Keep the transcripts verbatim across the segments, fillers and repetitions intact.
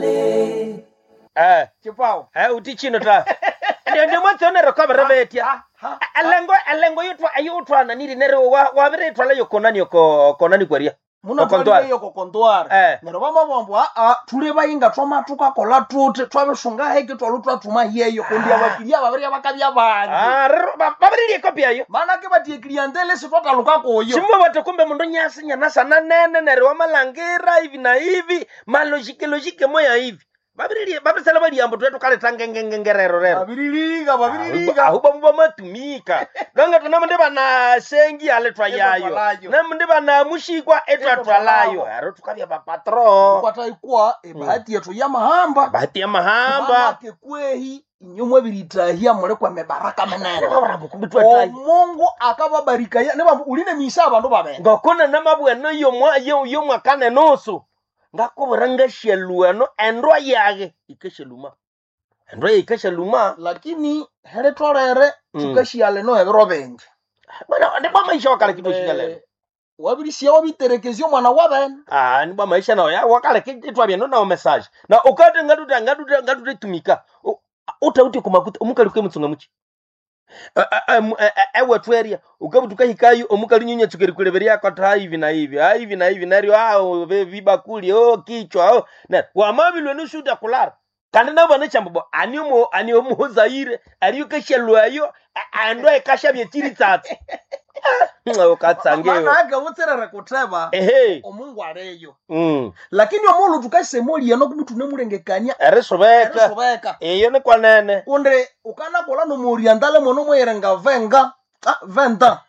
Orientale. Eh, Chipao. eh uti chino ta. Ndio ndio mwatsonero kwa berebetia. Ha, ha. Elengo elengo yutwa ayutwa niri nero wa wabiretwala yokonani yoko konani kwaria. Muno Okontwara. twalire yoko kontwara. Eh. Neryo bamabwambu aa thule bayinga twamatuka kola tuthi twabisunga heki twalhu twathuma hiyeyo kundi abakiliya babirya bakabya bangi. Ah, rero babiririe kopi ayo. Manake bathi ekiliyantele sitwataluka kuyo. Simba watu kumbe mundu nyasi nyanasa na nene nero wamalangira hivi na hivi malojike lojike moya hivi. Babiririe babisala bali ambo twetu kaleta ngengengengerero rero. Babiririga babiririga. Ahuba muba matumika. Ganga tunamende bana sengi aletwa yayo. Etwatwalayo. Namende bana mushikwa etwatwalayo. Ero tukabya ba patro. Kwata ikwa ebahati yethu yamahamba. Bahati ya mahamba. Manake kwehi inywe mwabiritahia muli kwemibaraka minene. Omungu Omungu akababarikaya nibambu uline misa abandu babene. ngokuna namabweno yomwa yomwaka nenusu ngakubura ngashaluano endwa yage ikashaluma endwa yage ikashaluma Lakini heritolere Mm. thukashiala eno ebiro bingi. bwana ndibwa maisha wakale kitu shinyalelo Eh, wabirisiya wabiterekezya omwana wabene. ah ndibwa maisha nawo ya wakale kitwa byeno nawo message na ukate ngatuta ngatuta ngatuta tumika utauti kumakuta omukali kwe mutsunga muchi ewethu eria ukabutuka hikayo omukali nyunya tsukeri kuleberia kwata hivi na hivi ah hivi na hivi neryo ah ve- vibakuli oh kichwa oh na wamabilwe nushuta kulara kandi nabo banachambo ani omo ani omuzaire ariyo kashalwayo ando ekashabye chiri tsatsi ukatsangeyo Manake butserere kutheba ehe omungu aliyo. mm Lakini omulhu thukasemolia nokubi thunemulengekania erisubeka erisubeka. iyo ni kwanene Kundi ukanakolha nomuorientale mono mweyirenga venga ah, venda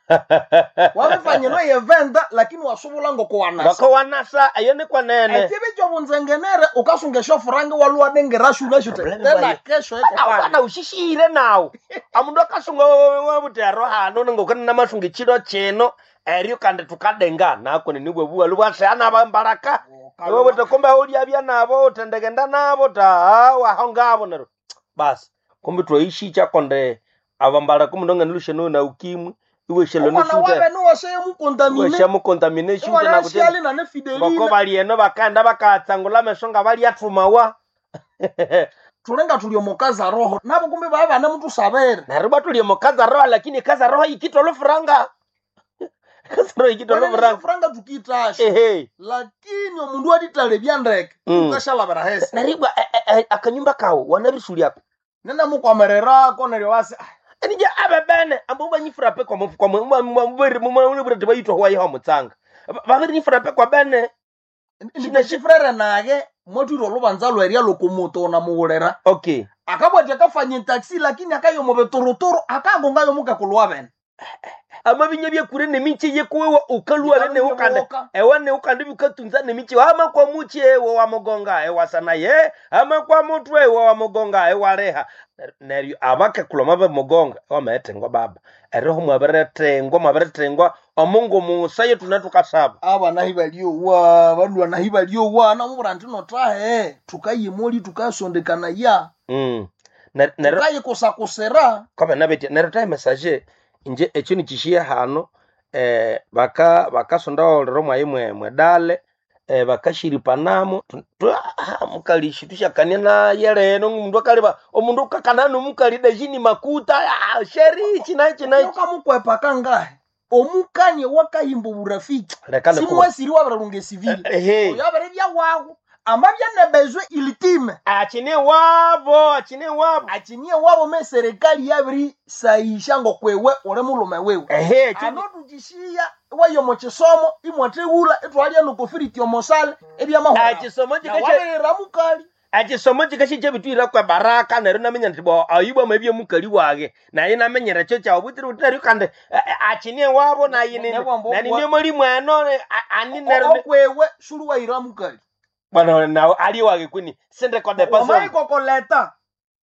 wabifanya noye venda lakini wasubula ngokuwanasa ngoko wanasa iyo ni kwanene ekibi kyobunzengenere ukasunga esyofurange walwa dengerashu nashu Probleme tena bayo. kesho iko pale Bana ushishire nawo amundu akasunga wabutero hano ngokana namasunga echiro chino eryo kandi tukadenga nako ninibwe buwalu bwasana bambaraka iwe buti kumbe ulyabya nabo utendegenda nabo ta waho ngabo nero basi kumbe twaishicha konde abambaraka omundu anganilusha na ukimwi iwe shelo omwana nushute wabe niwase mukondamine iwe shamukontamination omwana na kutenda asiali nane ngoko fidelina bali eno bakaenda bakatsangula ameso nga balyathumawa thulenga thuli omukazi aroho nabo kumbe baba bane muthusabire neryo batulye mukaza roho lakini kaza roho ikitwa lufuranga kaza roho ikitwa lufuranga furanga tukiitasha ehe lakini omundu atitale ndeke Mm. ukashalabira hesi neribwa akanyumba kawo wanabisulyako nenamukwamererako neryo wasi "Ah, enija abebene ambo banyifurape kwamubiriti bayitwa huwayiho mutsanga babirifurape kwa bene ndikashifurere nage mwatwire olubanza lwerya lukumuto namuwulira okay akabwati akafanya etaxi lakini akayomo bituruturu akagongayo mukakulwa bene amabinya byekure nemiche yekuwewa ukalua Ikalu ne ukande nyewoka. ewa ne ukande bikatunza nemiche ama kwa muche ewe wa mugonga ewa sana ye ama kwa mutwe ewe wa mugonga ewa reha neryo abakakuloma bamugonga wametengwa baba eroho mwabiretengwa mwabiretengwa omungu musa yetu natukasaba abana hibalyowa balwana hibalyowa namubura nti notahe tukayimoli tukasondekana ya mm. Ner- neryo tukayikusakusira kwaba nabeti neryo tahe message inje ekyo nikishiye hano eh, baka bakasonda olero mwayi mwe mwedale eh, bakashiripanamo Tu- tu- ah, mukali tushakania naye leno omundu akaliba omundu ukakana nomukali dejini makuta ah, sheri ichi naichi naichi ukamukwepa kangahe omukanye wakayimba oburafiki Leka nikuwe. simwesiri wabiralunga esivili ehe oyo abiribya wawu amabya nebezwe ilitime achine wabo achine wabo achinie wabo me serikali yabirisayisha ngokwewe uli mulume wiwe ehe chini- anotukishiya wayo mukisomo imwathewula ithwalya nokofiriti omosale ebyamahwa achisomo chikashe wabirira mukali achisomo chikashi chebitwira kwa baraka neryo namenya nti bo ayibwa mabye mukali wage naye namenyera cho chawo butiri buti neryo kandi eh, eh, achinie wabo naye Ne- nebwambo nani obwa- niyo muli mweno ne- a- ani neryo okwewe suli wayira mukali bwana nawo ali wage kwini sende kwa de paso wamaikokoleta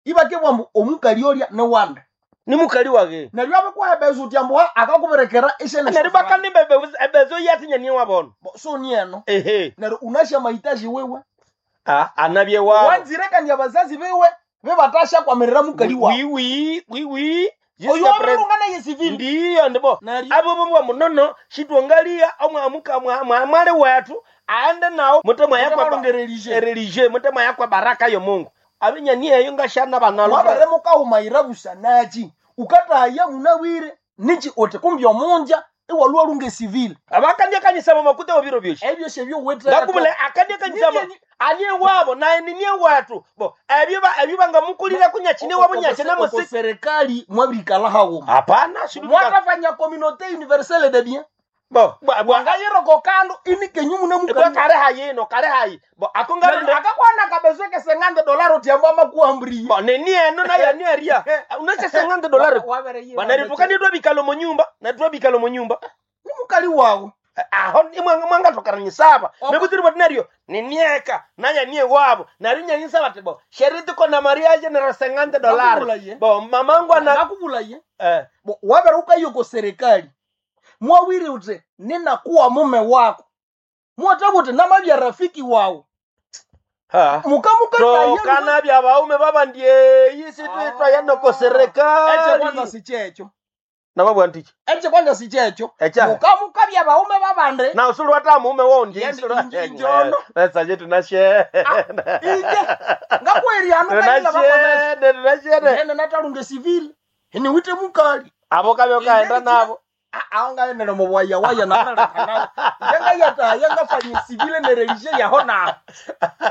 ibakebwambu omukali olya niwanda ni mukali wage neryo abikuhebeza uti ambu akakubirekera neryo bakani bebe ebezo yatinya ni wabono sonieno ehe neryo unasha mahitaji wiwe ah anabye wabo wanzirekania bazazi biwe bibatasha kwamirira mukali wawe wiwi wiwi oyo Jisica pres- wabirunga naye sivili ndiyo ndibo neryo abo bobwa munono shitwangalia omwamuka mwamwale wetu Aende nawo mutemwa yakwa Mutemalunga religieux mutemwa yakwa baraka yo Mungu. Abinyani eyo ngashana banalo. Mwabere mukawumayira busanachi ukataya munawire nichi uti kumbi omunja iwalwa lunga civil. Abakandiakanyisa makuta obiro byoshi. Ebyo shebyo wetera. Ngakumule akandiakanyisa Nibye- ani wabo naye ninie watu. Bo ebyo ba ebyo bangamukulira kunyachine wabo nyachine Oko musiki. serikali mwabirikala hawuma. Hapana sidu. Mwatafanya communauté universelle de bien. Bo bwa bwa Wangayiroko kando inikenyu mune bwa mukali. kare hayino kare hayi. Bo akongalinde Akakwana kabezeke sengande dolari uti ambwa makuambriye. bo nini eno naye ani eria. Unachesengande dolari. Banari tukandidwa bikalo mu nyumba, natwa bikalo mu nyumba. Ni mukali wawo. Aho imwe mwangatokaranyisaba Oko- mekutiri bati ninieka nanya nie wabo nari nyanyisa bati bo sheri tuko na mariage nero sengante dolari Nakubulaye. bo mamangu ana Nakubulaye. eh, Bo wabere ukayoko serikali. Mwawiri uti ninakuwa mume wako. Mwatabuti namabya rafiki wawo. ha Mukamuka tokana bya baume babandie yisi twitwa yanoko Eche kwanza serikali si checho. namabwa ntichi Eche kwanza si checho. Echa. Mukamuka bya baume babande. na usulu wata mume wondi Yendi isulu inji- injono. saje tunashe Ije. Ngakweri anu kayila bakomesa. tunashene tunashene Nene natalunge civil. Ini wite mukali. abo kabyo kaenda Inje- nabo Aongaenele mubwaya waya nalalekana. Yenga yanga civil ne religieux yaho na.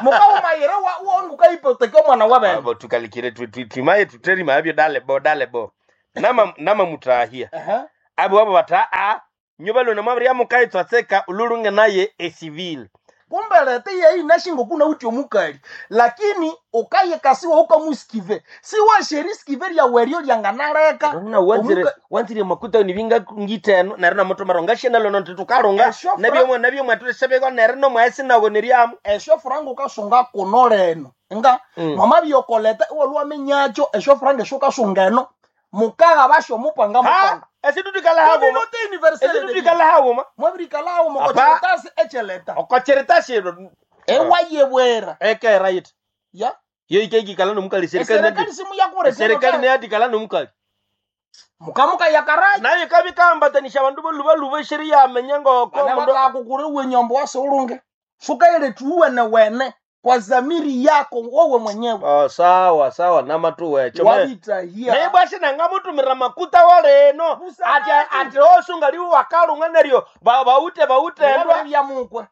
Mukaumayira wa wongu kaipoteka omwana wabene. abo tukalikire twimaye tuterima abyo dale bo dale bo nama nama mutahia Aha. abo abo bata a nyuba lona mwabiri yamukaitswatseka ululunge naye esivile Kumbe lete yeyi nashingo kuna uti omukali. Lakini ukayekasiwa ukamusikive. Siwa sheri skive lya werio lyanganaleka. na wanzire Omuka- wanzire makuta ni vinga ngiteno nero namutomaro ngashena lona nti tukalunga Esho fra- nabyo mwe nabyo mwatulisebekwa nero nomwesi nawo neriamu Esho franga ukasunga kuno leno. Nga Mm. mama byokoleta iwalwamenyacho esho franga esho kasunga eno. Mukaga basho mupanga ha mupanga. esitutikala hagoma Communauté universelle de bien. esitutikala hagoma Mwabirikalawo Apa. mukocheretasi echeleta. okocheretashiro Ewayebwera. eke right Ya. yo ikekikala nomukali serikali Eserikali simu yakure. serikali neyatikala nomukali Mukamuka yakarayi. nayo ikabikambatanisha bandu bolubaluba esheri yamenya ngoko Bana mundu batakukure wenyombo wase ulunge. Sukaile tuwe wene kwa zamiri yako wewe mwenyewe. Oh, sawa sawa namatuwecho Wabitahia. naibwashe nangamutumira makuta waleno Busanati. ati ati osunga liwo wakalunga neryo ba- baute bautendwa Bya mukwe.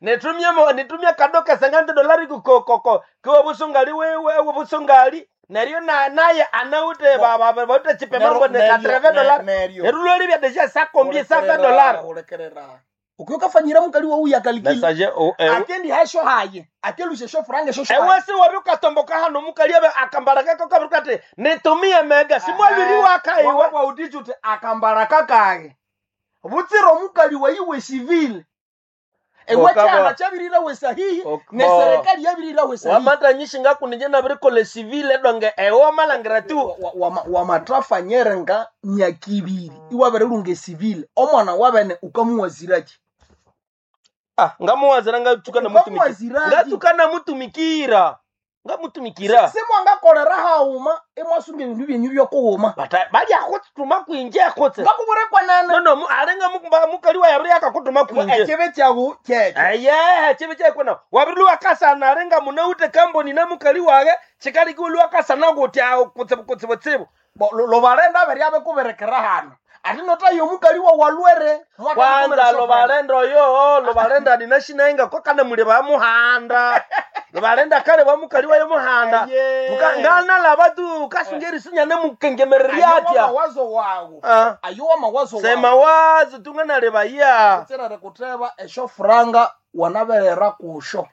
nitumie mo- nitumie kadoka sengante dolari kukokoko kiwa busungali wewe busungali neryo na naye anaute ba- ba- ba- baute chipe mambo ne katreve dolari Neryo. neruloli bya deja sakombie safe dolari Ulekerera. Ukiokafanyira mukali wa uya kalikili. Message o eh, Akendi hasho haye. Akelushe sho franga sho haye. ewesi wabi ukatomboka hano mukali abe akambara kako kabiri kati nitumie mega simwabiri wakaiwe Wabwa utichuti akambara kakaye. Butsiro mukali wa iwe civil. Ewe Okaba. chana chabirira we sahihi Ok- ne bo. serikali yabirira we sahihi. wamatanyishinga ngakunije nabirikole sivile donge ewe wamalangira tu Wamatrafanyere nga myakibiri iwabere lunge civil omwana wabene ukamuwaziraki. ah, ngamuwazira ngatsuka namutumikira Ukamuwaziraki. ngatsuka namutumikira ngamutumikira Simwangakolera hauma imwasunga ebindu byenyu byokuwuma. Bata- balyakhutuma kwinje khutse Ngakuburekwa nene. nono mu- alenga mu- mukali wa yabiri yakakutuma kwinje Ekyebe kyawu kyekyo. aye chibi chekwena wabiri luwakasana alenga munaute kamboni na mukali wage chikali luwakasana kuti awo kutsibu kutsibu tsibu Bo- lo- lobalenda abere abekuberekera hano ati notayo omukali wa walwere kwanza lobalenda oyo lobalenda ninashinaenga kwakana muli bamuhanda lobalenda kale bamukali wayo muhanda Muka- nganalaba tu kasunga erisinya nemukengemererya atya mawazo wawo Ah, ayo wamawazo sema wazi tunganaleba tsirere kuteba esho franga wanaberera kusho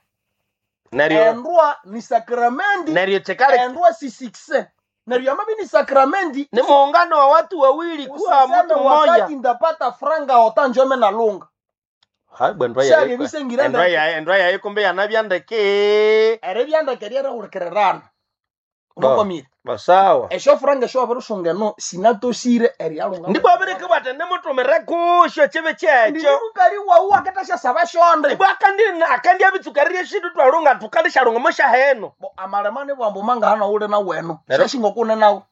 neryo endwa ni sakramendi neryo chikale endwa si sikse neryo amabi ni sakramendi ni muungano wa watu wawili kuwa usiseme mtu mmoja wakati ndapata franga otanjome na lunga Hai, bwe ndwa Shali yayi- bisengira endwa ndeke. yayi- endwa yayi kumbe yanabyandeke ere byandeke ryereurekererana unakwamire basawa esho franga esho wabirusunga sinatosire eryalunga ndibwabireke bwate nimutumire kusho chibi kyekyo ndimukali wawu akatasha saba shonde ibwa akandi akandi abitsukarire shindu twalunga tukalishalunga mushaheno bo amalema ni bwambu manga hana ule na weno Nero- shashinga kune nawo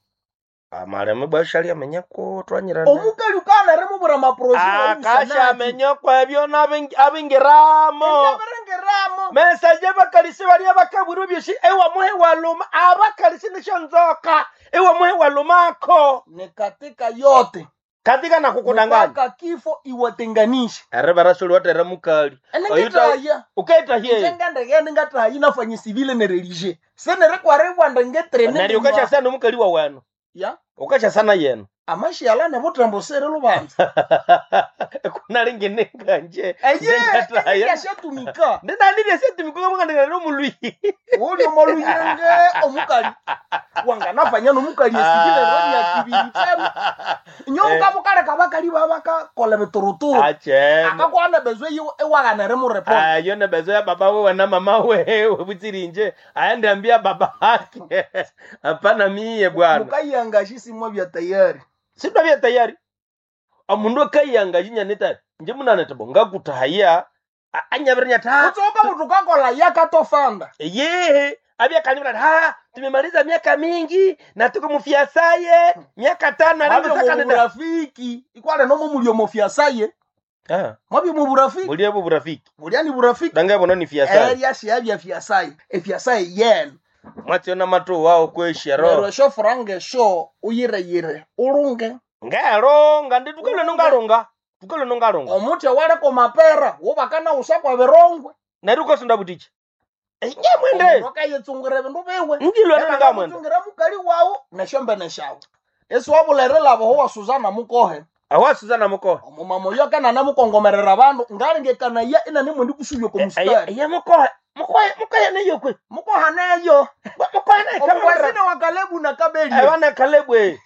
Amaleme bwashali amenya ko twanyirana Omukali ukana rimubwira amaproje akashamenya kwebyo n'abing- abingiramo Abirengeramo. mesaje bakalisi balia bakabwirwe byosi ewamuhe waluma abakalisi nisho nzoka ewamuhe walumako Ni katika yote. katika nakukudanganya Mpaka kifo iwatenganishe. eribarasoli watera mukali Enengetaya. ukaitahie Njengendegende ngatayi nafanye civile ne religie. Senerekwaribwanda ngetrene. neryo ukashasana omukali wa wenu Ya. ukashasana yenu Amashiala nebutembo sere lubanza. kunalingininganje Eye, yashatumika. ndinanilyesetimikukamukandikana nomulwi Uli omoluyenge omukali. Wanganafanya nomukali esivile roni ya kibiri chema. Nyomuka mukaleka bakali babakakola bituruturu. achene Akakwana bezwe yiwe ewaganere mu report. ayo nebezo ya baba wewe na mama wewe butsirinje aende ambia baba yake hapana mie bwana Mukayiangashi simwa bya tayari. sindwavya tayari omundu akayianga nita nje munanetebo ngakutahaya anyavirinya ta Kutsoka muthu kakola yakatofanda. yehe avyakanyivira ha tumemaliza miaka mingi na tuko mufiasaye miaka tano Mwabyo alingosakanida muburafiki. Ikwale nomo mulio mofyasaye. Mwabyo muburafiki. mulievo burafiki Mulyani burafiki. dangavono ni fiasaye Erya siyabya fyasaye. Efyasaye yena. mwatsiona matu wao kweshero Neryo esyo franga esyo uyireyire ulunge. ngeronga ndi tukalwe nongalonga tukalwe nongalonga Omuthi owaleka mapera wubakana usa kwa birongwe. neryo ukasinda butichi nyamwende Omundu akayitsungira ebindu biwe. ngilwe nongamwende Tsungira mukali wawu nesyombene syawu. Esiwabulere ho wa Suzana mukohe. awa Suzana mukohe Omumama oyo akananamukongomerera abandu ngalengekanaya inanemwendi kusubya oko mustari. eya mukohe mukohe mukohe neyokwe Mukoha neyo. mukohe neyo Omukwasine wa Kalebu na Kabeli. ewana kalebwe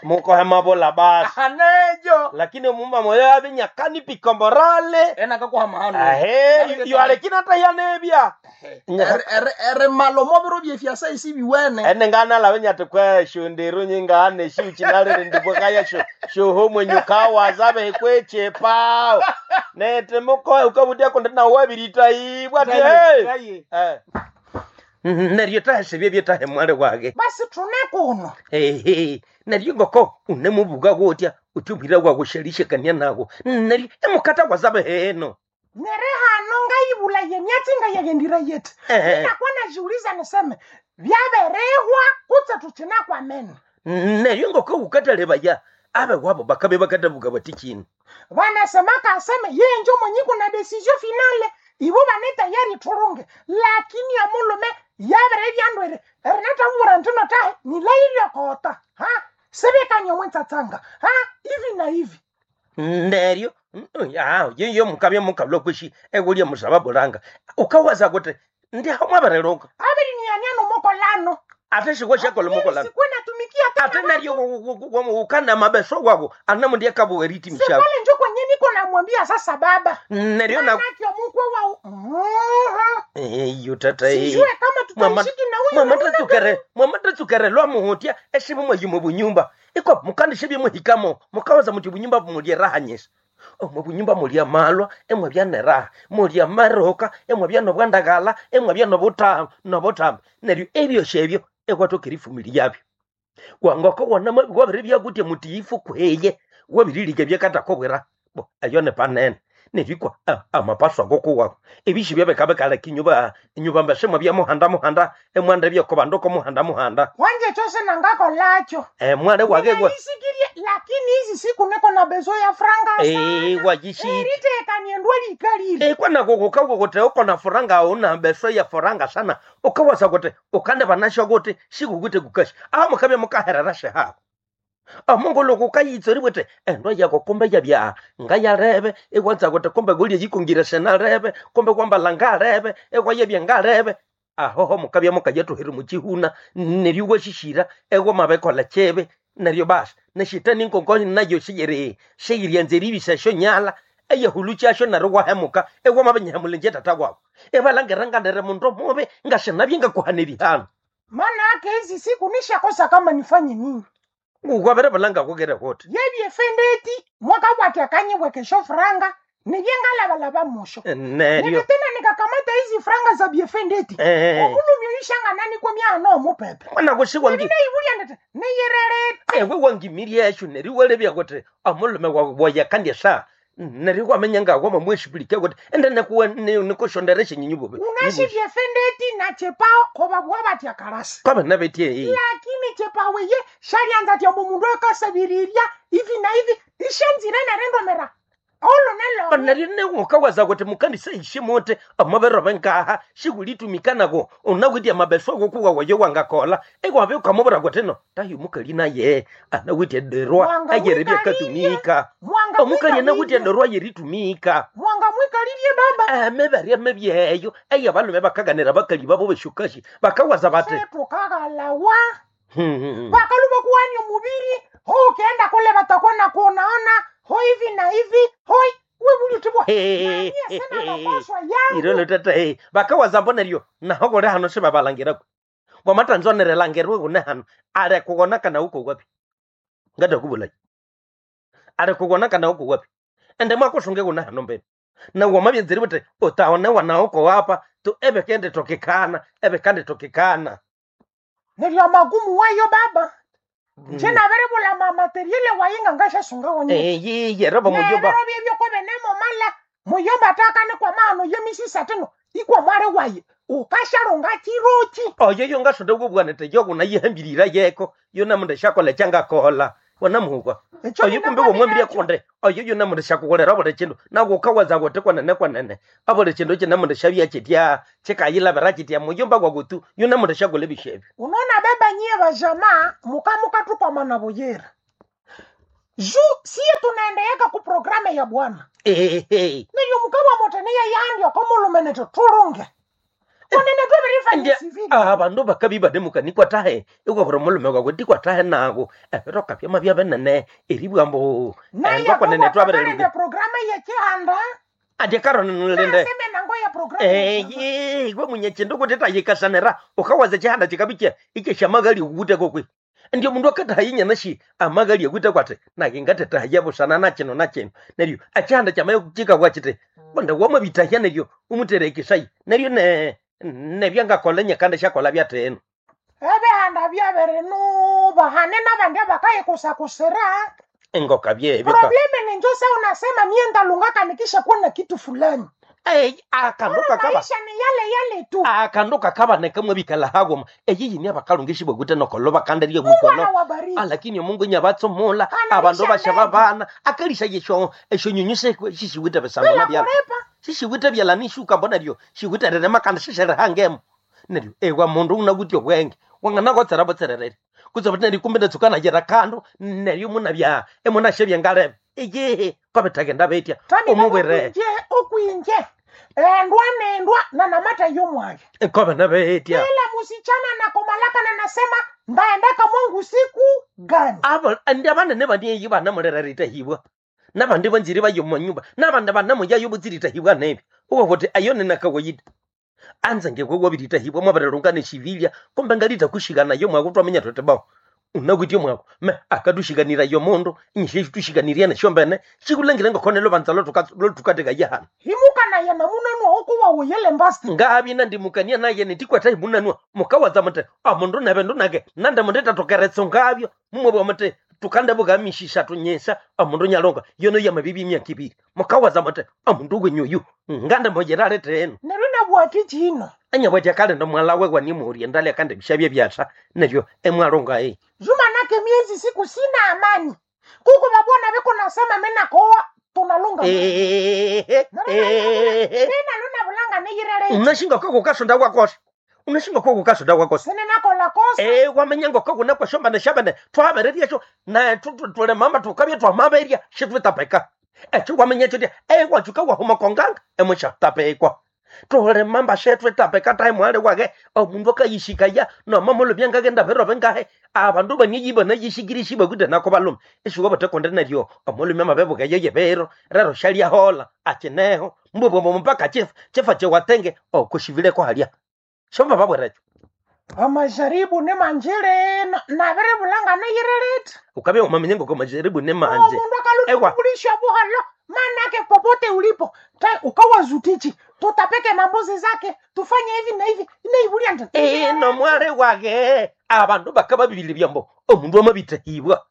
mukohe mabola basi Aneyo. lakini omumama oyo abinyakani pikomborale Ena kakuha mahano. ahe yoalekina hata yanebya Ere malo mobiro byefyasa isibiwene. ene nganalave nyati kwesho ndiru nyingane shiuchinalire ndibwakaya sho shoho mwenyukawaza vehekwechepawo nete mukohe ukavutia kundi nawabiritaibwa ti hey! Eh. neryo tahesebye byetahe mwale wake Basi tune kuno. Ehe, neryo ngoko unemubuka kutya uthi ubwira kwakushelishekania nako neryo emukata kwazabe heno Nere hano ngayibula ye myatsi ngayeyendira yeti. Ehe. Nakuwa najiuliza niseme vyaberehwa kutse tuchina kwa meno. neryo ngoko ukatalebaya abe wabo bakabe bakatabuka bati chini Wanasemaka aseme yeye njo mwenye kuna decision finale ibo bane tayari turunge lakini amulume yabere byandwere erinatavura ntino tahe nilailya kota ha sebekanya mwentsatsanga ha hivi na hivi neryo yiyo mukabya mukabula kwishi ekulya musaba bulanga ukawaza kuti ndiho mwabarelonga abiri niyaniano mokolano ate shikwa shakolomokolana sikuwe natumikia tena ate neryo ukana mabeso wako anamundiakabuweriti mshako sipale njo kwenye niko namwambia sasa baba neryo na manake omukwe wao Mhm. iyo tata eh. sijue kama Mwama- tutaishiki na huyu mwama namna gani. tatsukere mwama tatsukere lwa muhutya eshivi mwayi bunyumba iko mukandishe muhikamo mukawaza muti bunyumba mulye raha nyesa omwe bunyumba mulya malwa emwe byaneraha mulya maroka emwe byanobwandagala emwe byanobuta nobutamba neryo ebyosi ebyo ekwatokera ifumili yabyo wangoko wona wabiri byakutya muti ifu kweye wabirilike byakatakobwera bo eyo ni panene neryo ikwa amapaso akoko wako ebishi byabekabekaleka inyuba inyuba mbesemwa bya muhanda muhanda emwanda byokobandu ko muhanda muhanda wanje chose nangakolacho emwale wake kwa Ninaisikirie, lakini hizi siku niko na bezo ya franga eh wajishi eritekaniendwa likalile eh kwana kukuka kuti ukona furanga una beso ya furanga sana ukawasa kuti ukande vanasho kuti shikukuti kukashi aho mukabe mukaherera shehaho omungu loko ukayitsori kuti endo yako kumbe yabya ngayareve ikwanza kuti kumbe kulye yikungire senareve kumbe kwambala ngareve ekwayebya ngareve ahoho mukabya mukayatuhiri muchihuna neryo washishira ekwa chebe neryo basi neshitani nkonko nayo shiyiri shiyiryanza eribisa shonyala eyehulu kyasho neryo wahemuka ekwamabenyahemulenje tata wabo ebalangera nganere mundu mubi ngashinabye ngakuhana erihano maana yake hizi siku nishakosa kama nifanye nini ngukwabere balanga kukere kuti yebyefendeti mwaka bwati akanyibwekesho franga nibye ngalabalaba musho neryo nike tena nikakamata hizi franga za byefendeti Eh. omulumyo shangana kwa myano omupepe mwana kusiwangi neibulya nditi niyirerete ewe wangimiria esyo neryo walebya kuti omulume wawe kandi sa neryo wamenya nga wamamweshipulike kuti ende nikuwe nikushondera esyenyinyi bubi unashivye fendeti na chepao kobabwa batya kalasi kwaba nabetye lakini chepao ye shalyanza tya mundu akasabirirya ivi na ivi ishanzire nerendomera olo nelo neryo newukawaza kuti mukandisa ishe muti omubiri benkaha shikulitumikanaku unawitye amabeso akokuwa wayo wangakola iwabe ukamubwira kuti no tayo mukali naye anawitye derwa Mwanga ayeri mwikalirie. byakatumika mwanga omukali anawitye mwikalirie derwa yeritumika mwanga mwikalirie baba emibere emibyeyo eyabalume bakaganira bakali babo beshukashi bakawaza bati setukagalawa "Hmm, bakaluba kuwani omubiri ho ukienda kule batakuwa na kuonaona ho hivi na hivi hoi webulitibwa naniye sina mapaswa yangu irolo tata eh, bakawaza mbo neryo naho kuli hano sibabalangiraku wamatanzonere kune hano ale kuwona kana uko wapi ngatakubulai ale kuwona kana uko wapi ende mwakusunge kune hano mbene na wamabyenzeri buti utaonewa na uko wapa tu ebekende tokekana ebekande tokekana neryo magumu wayo baba Mm. njenaberibula mamateriele wayinga ngashasunga wonye eyiye robo muyoba nerero byebyo benemomala muyomba takane kwa mano yemisisa tino ikwa mwale waye ukashalonga chirochi oyo yongasonde kubwanete yokunayihambirira yeko yona mundu shakola changakola wona muhukwa Echo oyo kumbe womwambirya konde oyo yona mundu shakukolera buli chindu nakukawaza kuti kwanene kwanene abuli chindu china mundu shabya chitya chikayilabira chitya muyomba kwakutu yona mundu shakola ebishebyo unaona baba nyie vajamaa mukamukatukwa buyera ju siye tunaendeeka ku programe ya bwana ehehe neryo mukawa moteneya yandya komulumeneto tulunge konene Ndya- twebirifanyisivile abandu bakabi banemukanikwa tahe ikwabura mulume kwakuti kwatahe naku ebiroka byama byabenene eribwambu naye kwanene twabererugya programe yechihanda andya karonenlinde naseme nango ya programe yechihanda. eyi gwe munye chindu kuti tayikasanira ukawaza chihanda chikabiche iche shamagali ukute kokwe ndio mundu akatahayinyana shi amagali akute kwati nake ngatetahaye busana na chino na chino neryo achihanda chamaye chikakwa chiti konde wamabitahya neryo umuterekesai neryo ne nebyangakola nyakanda shakola byateno ebihanda byabirinuba hane nabandi abakayikusakusira engoka byebyo ka probleme ni njo sa unasema mie ndalungaka nikisha kuwa na kitu fulani ei akandu kakaba maisha ni yale yale tu akandu kakaba nekamwe bikala hagoma eyi yini abakalungishi bwekute nokolo bakandarye bukolo Bwana wabariki alakini omungu nyabatsomula Kana abandu lisha bashaba ndege. bana akalisha yesho eshonyonyo shishiwite besangona bila byala kurepa shishiwite byala nishuka mbona ryo shiwite rerema kandi shisherehangemo neryo ewa mundu unakuti obwenge wanganakotsera botsererere kutse buti neryo kumbe natsuka yera kandu neryo munabya emunashebya ngalebe iyehe kwabethakenda betya Tami omubwire okwinje okwinje endwa nendwa na namata yomwaye kobe nabetya kila musichana nakomalaka na nasema ndaendaka mwangu siku gani abo andi abanene banieyi banamurererita hibwa nabandi banziri bayo manyumba nabandi banamuyayo butsirita hibwa nebi uko kuti ayo ninakawaida anza ngekwe wabirita hibwa mwabarerunga neshivilya kumbe ngalita kushikana yo mwako twamenya tote bao unakuityo mwako me akatushikanira yo mundu inyishe tushikanirya neshombene shikulengile ngokhone lobanza lotukateka yahana himuka naye namunanwa okuwa uyele mbasti ngabi nandimukania naye nitikwata imunanwa mukawaza muti amundu nebe ndunake nande mundu tatokeretso ngabyo mumwebwa muti tukandebuka mishisha tunyesa amundu nyalonga yono yamabibi imyaka ibiri mukawaza muti amundu wenyuyu ngande moyerale teno neryo nabwati chino anyabwatya kale ndomwala wanimuurie ndale kande bishabye byasa neryo emwalonga e juma nake miezi siku sina amani kuko babona biko nasema menakoa tunalunga mina luna bulanga niyirele unashinga kwako kasonda kwakosa unashinga kwako kasonda kwakosa sine nakola kosa Eh, wamenya ngoko kuna kwa shamba na shamba twabereria sho na tule mama tukabya twamaberia shitwitapeka echo wamenya chotia eh wachuka wahuma konganga emosha tapekwa tule mamba shetwitapeka tai mwale wake omundu akayishikaya no mamolo byangagenda bero bengahe abandu banyiyiba nayishikirishi bakude nako balume eshuko batekonde neryo omulume mabebuka yeye bero rero shalia hola achineho mbubombo mpaka chifa chifa chewatenge okushivile ko halia shomba babwerecho amajaribu ni manjire nabere bulanga niyirelete ukabya umamenye ngoko majaribu ne manje omundu Ewa. akalutubulisha buhalo manake popote ulipo ta ukawazutichi tutapeke mambuzi zake tufanye hivi na hivi inaibulia nti ino mwari wage abandu bakababibile byambo omundu amabitahibwa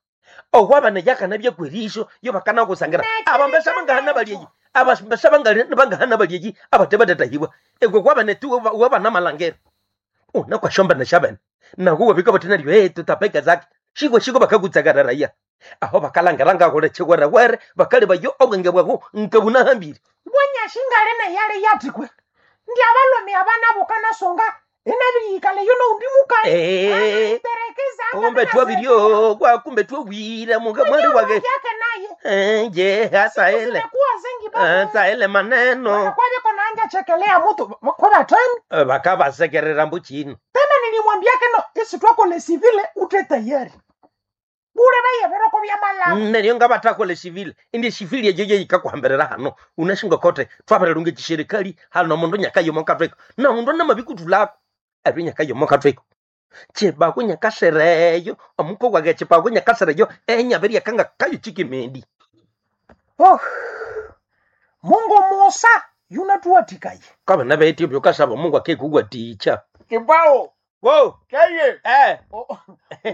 owabana yakana byakwerisho yo bakanakusangira abambesa bangahana balyeyi abambesa bangahana balyeyi abate batatahibwa egwe kwabane tu wabana malangera una kwashomba na shabene nago wabika batenaryo eh tutapeka zake shiko shiko bakakutsakarara raia aho bakalangira ngakole chikwerewere bakali bayo obwenge bwako nkabunahambire bwanyashingale neyale yatikwe ndi abalome abana bokanasonga enabiyikale yo noundi mukali Eh, terekeza kumbe twabiryo kwakumbe twawira muka mwali wake yake naye Eh, je hasa ile zimekuwa zengi baba hasa ile maneno kwabiko naanja chekelea mutu kwa batani Eh, bakabasekerera mbuchino tena nilimwambia keno isi twakole sivile ute tayari bure bayebereko bya malabo neryo ngabatakola esivile indi esivili eyo yeyikakuhambirira hano unashinga kote twabarelunga echishirikali hano mundu nyakayomo katweko naundu namabikutulako eryo nyakayomo katweko chibako nyakasereyo omuko wage chibako nyakasereyo enyabiryakanga kayo chikimendi oh. Mungu musa yunatuwatikaye kabana betyo byokasaba Mungu akekugwaticha Kibao wo keye eh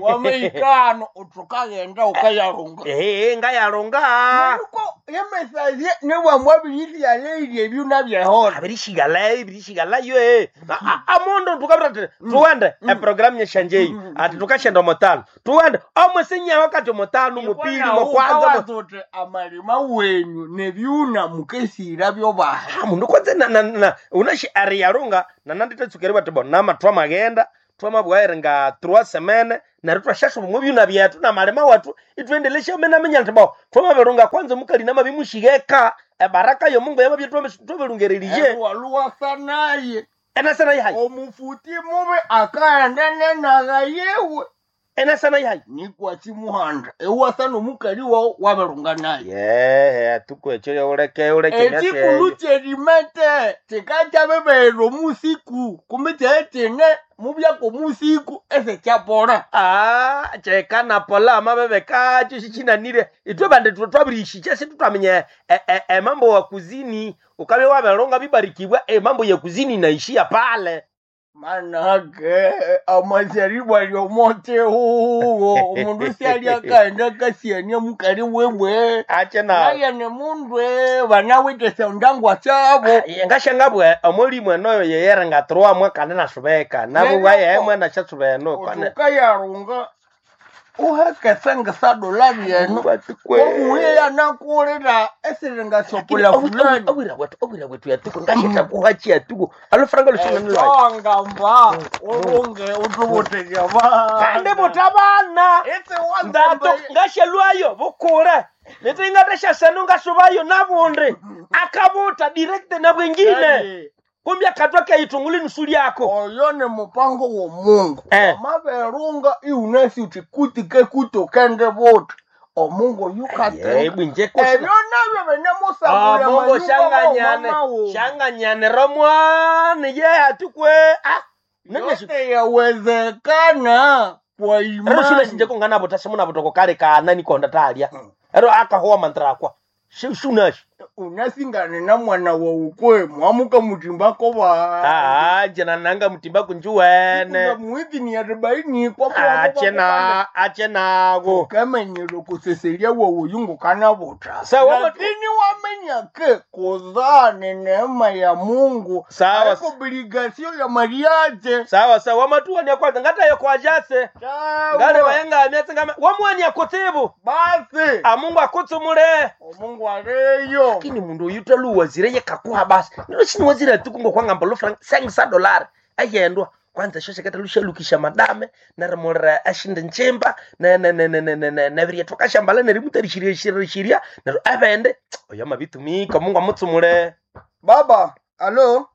wameikano utukagenda ukayarunga eh ngayalonga Neriko yemesaye newamwabirisialeirye ebyuna byehona abirishigalayo ibirishigalayo eh amondo tukabira ati tuwende eprogramu yeshanjeyi ati tukashenda omotano tuwende omwesinyawo kati omotano mupili mokwanza mo- uti amalima wenyu nebyuna mukesira byobaha Ah, mundu kwanza na na na unashi ariyarunga nananditetsukeri bati bo nama twamagenda twamabwaire nga trois semaine neryo twashashuba mu byuna byethu namalima wethu itwendelesha menamenya nti bo twamabirunga kwanza mukali namabimushigeka ebaraka yomungu yamabye twabirungereriye waluwasa naye enasana yahayi omufuti mubi akaenda nenaga yewe enasana yahayi nikwachimuhanda ewasa nomukali wawu wabirunga naye yehe tukwekyo uleke uleke ekikulu kyerimete kikakyabibeera omusiku kumbi kyetine mubyaka omusiku esekyapola Ah, cheka na pola amabebe kacho shichinanire itwe bande twabirishikya situtwamenya emambo wa kuzini ukabe waberonga bibarikibwa emambo ya kuzini inaishia pale manake amazaribu ali omote huwo omundu syali akaenda akasiania mukali wewe ache na naye ni mundu banawite syondangwa syabo ngashangabwe omulimo enoyo yeyere ngatroa mwakane nasubeka nabubwa yemwe nashasubeno kane ukayarunga uhekese ngisadola byenu omuye yanakulira esiringasopula fulani obwira bwetu obwira bwetu yatuko ngasheta kuhachi yatuko alufranga lushingani lwayo ongamba urunge utubutirya kandi mutabana ndato ngashelwayo bukure nitingatashasanu ngasubayo nabundi akabuta direct na bwengine kumbi akatwa kaitunguli nusu lyako oyo ni mupango womungu Eh. amaberunga iunasi uti kuti kekuti ukende buti omungu yukatenga bwinje ebyo nabyo binemusabula mungu shanganyane shanganyane romwana ye atukwe ah nanyashu yote yawezekana kwa ero shina shinje imani kungana simuna butoko kale kana nikonda talya Mm. ero akahowa mantrakwa shunashi unasingane na mwana waukwe mwamuka mutimbako ba ah jena nanga mutimba kunjuwene muwithini arobaini kwa achena achenago ukamenyera kuseselia wowo kana buta Sawa, lakini wamenya ke kuzaa ni neema ya Mungu Sawa. haiko obligasio ya mariaje sawa sawa wamatuwania kwanza ngatayo kwajase ngale wayenga myatsi ngame wamuwania kutsibu basi amungu akutsumule omungu aleyo lakini mundu uyu taluwazire yekakuha basi nilo shiniwazire atukungo kwangamba lufranga sengisa dolari ayendwa kwanza shosheketa lushalukisha madame narimulira ashinde nchimba navirya twakashambala nerimutarishiriashiria nero avende oyo mabitumika mungu amutsumule baba alo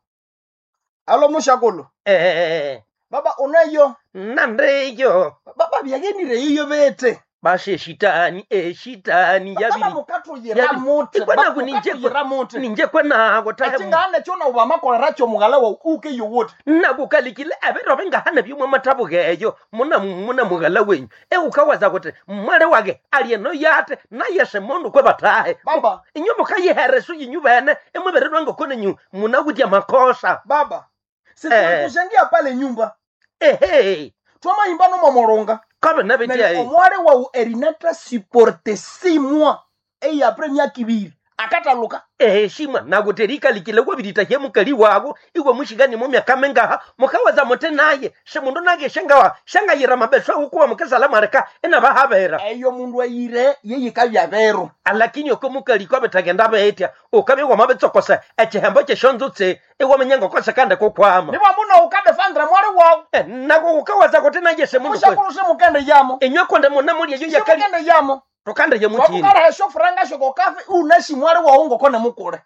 alo mushakulu Eh, baba unayo nandiyo baba byagenire yiyo bete Bashe shitani eshitani Baba yabiri mukatuyira Yabi- muti Ikwe naku ninje mukatuyira muti ninje kwenago tahe echingane chona ubamakolera cho mughala wawu uke yowoti nakukalikile ebiro bingahana byomwe mathabuka eyo muna muna mughala wenyu ewukawaza kuti mwale wake alieno yate naye semundu kwe batahe baba inyu mukayihereso yinyu bene imwibirirwa ngokonenyu munawitya makosa baba Eh. situlikushengia pale nyumba ehe twamaimba nomomolonga kabe nabetya Neryo omwale wawu erinata siporte six mois eyapre myaka ibiri akataluka ehe shimwa nakuti likalikile wabirita mukali wako iwe mushikani mu myaka mingaha mukawaza muti naye semundu nake shangawa shangayira mabeso akukuwa mukasala mwaleka inabahabera eyo mundu ayire yeyikabya bero alakini oko mukali kwabethagenda betya ukabya wamabitsokosa echihembo kyeshonzutse iwaminya ngokose kandi kukwama niba muno ukadefandira mwale wawu Eh, nako kukawaza kuti naye semundu kwe mushakulu simukende yamo inywe konde muna mulya yo yakali simukende yamo tukande ye mutini wakukalaha eshofuranga shokokafe unashi mwale wawu ngokone mukule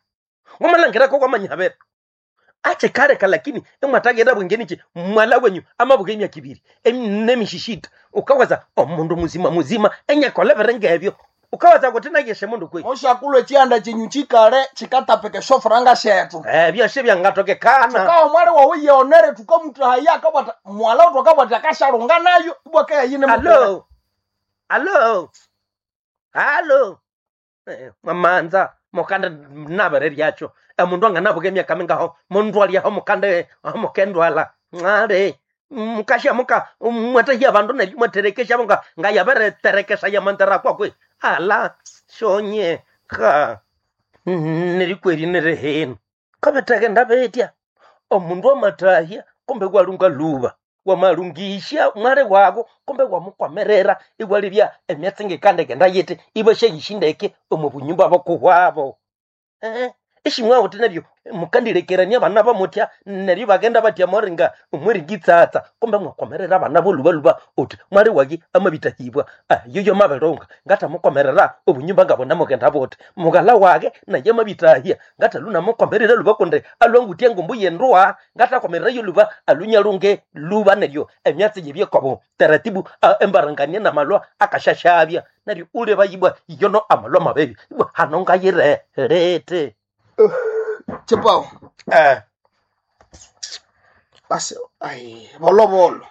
wamalangirako kwamanyavera achikaleka lakini imwatagenda bwengenichi mwala wenyu amabuka emyaka ibiri em- nemishishita ukawaza omundu muzima muzima enyakolevere ngebyo ukawaza kuti naye semundu kwe mushakulu echianda chenyu chikale chikatapika eshofuranga shetu Eh, byose byangatokekana tukawa mwale wawu yeonere tukamutahaya akabwata mwala utu akabwata akashalunga nayo ibwakeyayine alo alo alo Eh, mwamanza mukanda nabere lyacho emundu anganabuka emyaka mingaho mundu alyaho mukanda mukendwala ngale mukasha muka mwatahia bandu neryo mwaterekesha muka ngayabereterekesha yamantera kwakwe ala shonye ka nerikweri nerehenu kabeteke ndabetya omundu amatahya kumbe kwalunga luba wamalungisha mwale wako kumbe wamukwamerera iwalibya emyatsi ngikandekenda yiti ibashayishindeke omu bunyumba bokuhwabo eh ishimwawo neryo mukandilekerania abana bamutya neryo bagenda batya moringa omwiringitsatsa kumbe mwakwamerera abana bolubaluba uti mwali waki amabitahibwa yoyo mabilunga ngatamukwamerera obunyumba ngabona mugenda buti mugala wake naye mabitahia ngatalunamukwamerera luba kundi alwangutya ngumbu yenduwa ngatakwamerera yo luba alunyalunge luba neryo emyatsi yebyekwabo taratibu a- embarangania namalwa akashashabya neryo uleba yibwa yono amalwa mabebi ibwa hano ngayire lete chipawo eh basi ai volovolo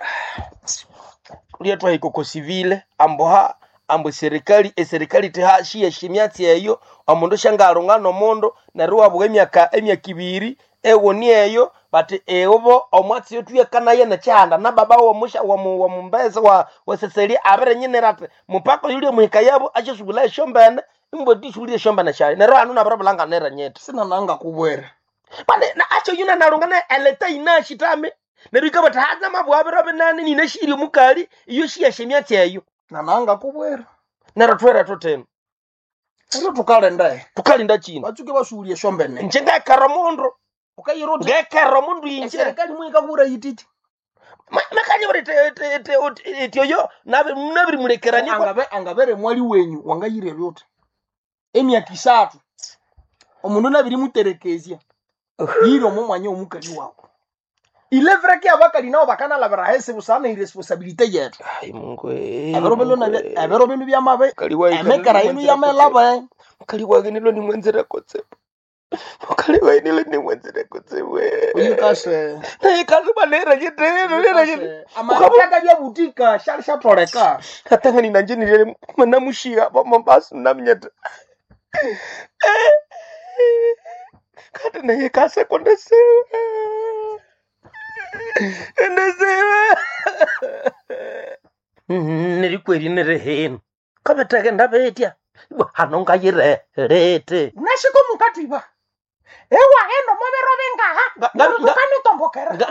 lyetwa hikoko sivile amboha ambo serikali eserikali tihashiya emyatsi eyo omundu shangalunga nomundu neryo wabuka emyaka emyaka ibiri ewoni eyo bati eobo omwatsi yotuyekanaye nekyihanda na baba womusha womu- womumbesa wa weseseli abirenyinira ati mupaka yuli muhika yabo asyasubula esyombene imbweti isubulire esyombene syayo neryo hanu nabiribulanganira nyete sina nanga kubwera pane na acho yuna nalungana eleta inashi tame neryo ikabata haza mabwabiro binane ninashiri omukali iyo shiyasha emyatsi eyo nananga kubwera neryo twere tuteno ero tukalendae tukalinda chino batsuke basuulia esyombene nje ngekera omundu ukayira uti ngekera omundu inje eserikali mwikakura yititi makanye buri eti oyo nabirimulekerania angabe angabere mwali wenyu wangayire byuti emyaka isathu omundu nabirimuterekezya yire omo mwanya omukali wawu ilevreke abakali nabo bakanalabira hesi busana iresponsabilite yetu Ai, Mungu eh, ebiro bino Mungu nabyo- eh. ebiro bino byamabe Mukali wayi emekera yinu yamelaba mukali wage nilo nimwenzera kutsebu mukali wayi nilo nimwenzera kutsebu uyikase naye kaluba nera nyitero nera nyitero amateka byabutika shali shatoleka katangani nanje nilele manamushiga bomombasu namnyeta kati naye kasekondesiwe endesiwe nerikweri nerehenu kabeteke ndabetya ibwa hano ngayire lete nashiko mukatwiba ewaghenda omubiro bingaha Nga- nga- nga- tukanitombokerera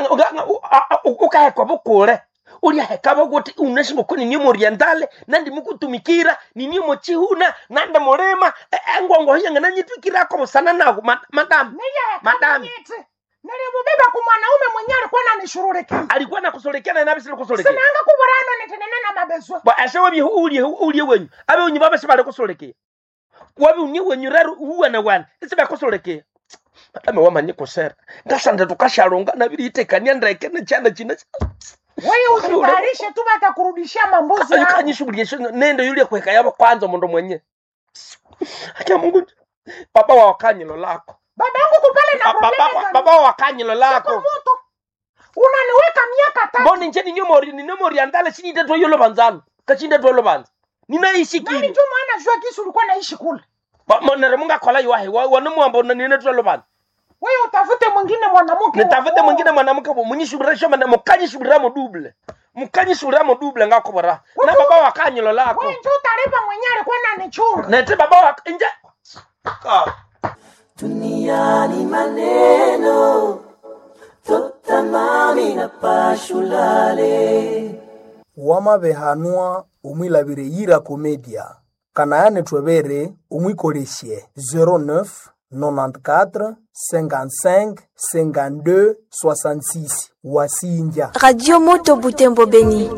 ukahekwa bukule ulyaheka bokuti unashingoko ninie morientale nandi mukutumikira ninie mochihuna nandi mulima engwango yanga nanyitwikirako busana nago madamu Madam. neyahekanyiti nilibubeba ku mwanaume mwenye alikuwa nanishurulikia alikuwa nakusolekea na nabisile kusolekea sinanga kuburano nitenene na mabezwa ba ase wabi ulye ulye wenyu abe unyu baba sibale kusolekea wabi unye wenyu rero uwana wana isiba kusolekea madame wamanye kusera ngasanda tukashalonga nabiri itekania ndeke nechana china Wewe usitayarishe tu batakurudishia mambuzi yako. Ayukanyishughulisha nendo yule kuweka yabo kwanza mundu mwenye. Acha Mungu baba wa wakanyilo lako. Babangu kupale na Ba- probleme Baba gani? baba wa wakanyilo Siko lako. moto. Unaniweka miaka tatu. Mbona nje ninyomori ninyomori andale chini twa yolo banzano. Kachinde twa yolo banza. Ninaishikiri. Nani njo maana jua kisu ulikuwa naishi kule. Monere munga kola yuahe wanamuamba nine twa banza. Wewe utafute mwingine mwanamke. wa Nitafute kuoa. mwingine mwanamke munyishubira mana mukanyishubira mo double. Mukanyishubira mo double ngakobora. Na baba wa kanyilo lako. Wewe njo utalipa mwenyewe alikuwa ananichunga. Nete baba wa nje. Ah. Duniani maneno totamami na pashulale Wamabehanwa omwilabire yira komedia kanayane twebere omwikolesye zero neuf, nonante-quatre, cinquante-cinq, cinquante-deux, soixante-six wasinja Radio Moto Butembo Beni.